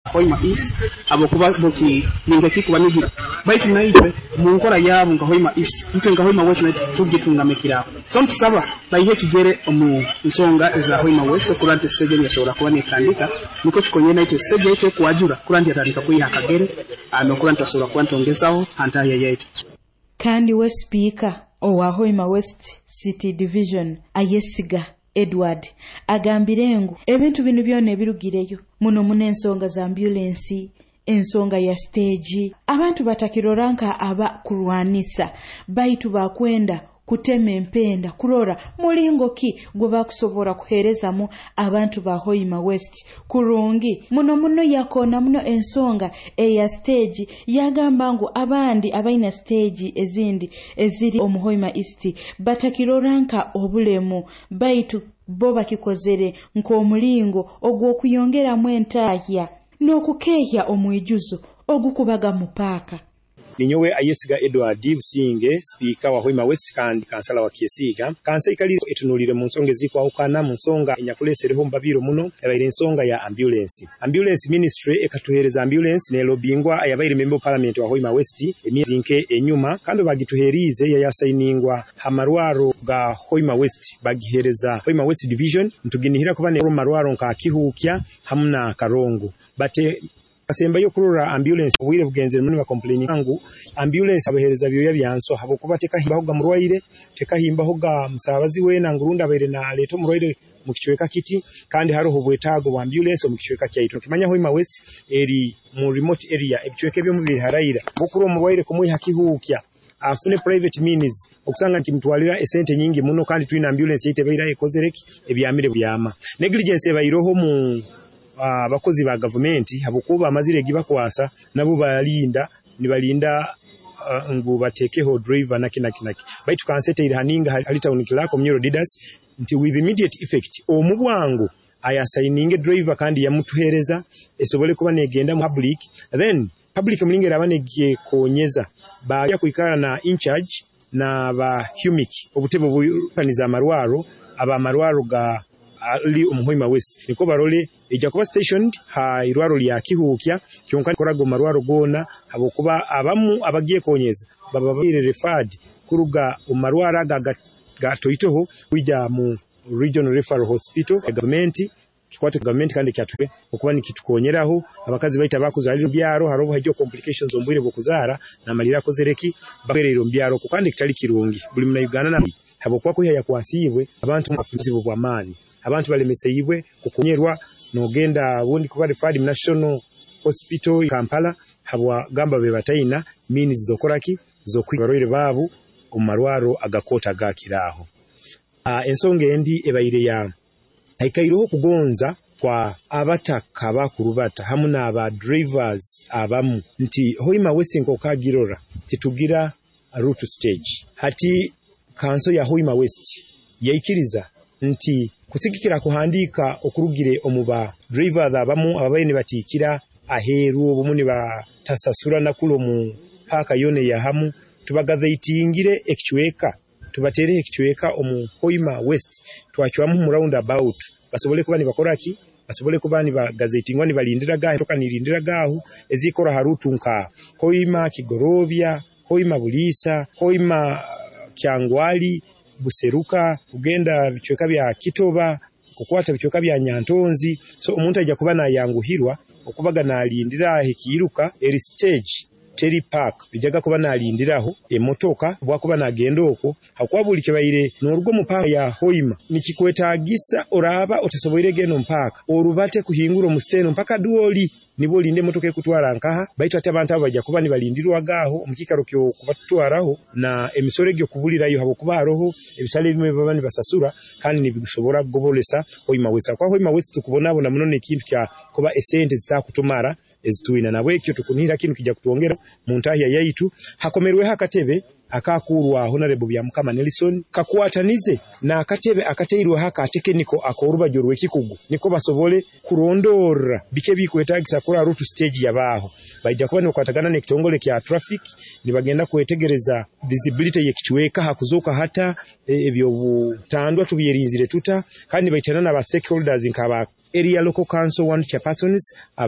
Hoima East habwokuba bo ninka baitu naitwe mu nkora yaabo nka Hoima East, itwe nka Hoima West naitwe tugitungamikiraho. So ntusaba baihe ekigere omu nsonga eza Hoima West okurora nti stage enu yasobora kuba netandika, nikwo kikonyere naitwe stage yaitu ekwajura kurora nti yatandika kwiha akagere nokurora nti twasobora kuba nitwongezaho ha ntahya yaitu. Kandi we sipiika owa Hoima West City Division, Ayesiga Edward, agambire ngu ebintu binu byona ebirugireyo muno muno ensonga za ambulensi, ensonga ya stage, abantu batakirora nka aba kurwanisa, baitu bakwenda kutema empenda kurora mulingo ki gwe bakusobora kuheerezamu abantu ba Hoima West kurungi muno muno. Yakoona muno ensonga eya stage, yagamba ngu abandi abaina stage ezindi eziri omu Hoima East batakirora nka obulemu, baitu bo bakikozere nk'omulingo ogw'okuyongeramu entahya n'okukeehya omwijuzo ogukubaga mu paaka. Ninyowe Ayesiga Edward Businge, sipiika wa Hoima West kandi kansala wa Kyesiiga. Kansa ikali etunulire mu nsonga ezikwahukana. Mu nsonga enyakulesereho mubabiiro muno ebaire ensonga ya ambulance. Ambulance, ministry ekatuhereza ambulance nelobingwa ayabaire member of parliament wa Hoima West emyezi nke enyuma, kandi bagituherize yayasayiningwa ha marwaro ga Hoima West, bagihereza Hoima West Division. Ntuginihira kuba ne marwaro nka Kihuukya hamu na Karongo bate asembayo kurora ambulance. Obwire bugenzere muno bacomplaining ngu ambulance abahereza byoya byanswa, habwokuba tekahimbaho ga murwaire, tekahimbaho ga musabazi wena ngurundi abaire naleeta omurwaire mu kicweka kiti, kandi haroho obwetaago bwa ambulance omu kicweka kyaitu. Kimanya Hoima West eri mu remote area, ebicweka ebyomu biharaira bokura omurwaire kumwiha Kihuukya afune private means okusanga nkimutwalira esente nyingi muno, kandi twina ambulance yaitu ebaire ekozereki ebyamire byama. Negligence ebaireho mu abakozi ba gavumenti, habwokuba amazire egibakwasa nabo balinda nibalinda ngu batekeho driver naki naki naki. Baitu kanseteire haninga hali town clerk Omunyoro Didas nti with immediate effect, omu bwangu ayasayininge driver kandi yamutuhereza esobole kuba negenda mu public. Then public mulinga eraba negekonyeza bajya kwikara na in charge na ba humic obutebe obukaniza amarwaro aba marwaro ga ali omu Hoima West, niko barole ejja kuba stationed ha irwaro lya Kihuukya kyonka koraga marwaro gona, habwokuba abamu abagiye konyeza baba baire referred kuruga omu marwaro aga gatoitoho kwija mu Regional Referral Hospital. Gavumenti kikwate gavumenti kandi kyatwe okuba nikitukonyeraho abakazi baita bakuzalira byaro, haroho hajjo complications omu bwire bw'okuzaara namalira akozereki bakwerera omu byaro, kandi kitali kirungi buli muna Uganda na habwokuba kwiha yakwasiibwe abantu bafuzibu bw'amaani, abantu balemeseibwe kukonyerwa nogenda bundi kuba referred mu National Hospital Kampala habwa gamba be bataina means zokoraki z'okwibarwaire baabo omu marwaro agakota agakiraaho. Ensonga endi ebaire ya haikaireho okugonza kwa abataka bakurubata hamu n'aba drivers abamu nti Hoima West nk'okagirora titugira route stage. Hati kanso ya Hoima West yaikiriza nti kusigikira kuhandika okurugire omu ba drivers abamu ababaire nibatiikira aheeru, obumu nibatasasura nakulu omu paaka yoona eyahamu, tubagazeitingire ekicweka, tubateereho ekicweka omu Hoima West, twacwamu mu round about basobole kuba nibakora ki, basobole kuba nibagazeitingwa nibalindira gaho toka nirindira gaho ezikora ha route nka Hoima Kigorobya, Hoima Buliisa, Hoima Kyangwali, Buseruka, kugenda bicweka bya Kitoba, kukwata bicweka bya Nyantonzi. So omuntu ajja kuba nayanguhirwa okubaga nalindira ekiiruka eri stage teri park, ijaga kuba nalindiraho emotoka bwakuba nagenda okwo, hakuba buli kibaire n'oruga omu paaka ya Hoima nikikwetagisa oraba otasoboire genda omu paaka orubate kuhingura omu steno mpaka Dwoli nibo olinde emotoka ekutwara nkaha. Baitu ati abantu abo bajja kuba nibalindirwagaho omu kiikaro kyokubatwaraho na emisoro egyo kubulirayo, habwokuba haroho ebisale ebimwe baba nibasasura kandi nibisobora kugobolesa Hoima West, kwa Hoima West tukubonabona muno n'ekintu kya kuba esente zitakutumara ezitwina. Nabwekyo tukunihira kinu kijja kutwongera mu ntahya yaitu. Hakomerweho akatebe akakurwa Honorable Byamukama Nelson kakwatanize n'akatebe akateirweho aka tekiniko ak'orubaju rw'ekikugu, niko basobole kurondorra biki ebikwetagisa kura route stage yabaaho. Baija kuba nibakwatagana n'ekitongole kya traffic, nibagenda kwetegereza visibility y'ekicweka hakuzoka hata ebyobutandwa tubyerinzire tuta, kandi nibaitana n'aba stakeholders nk'aba area local council one chairpersons.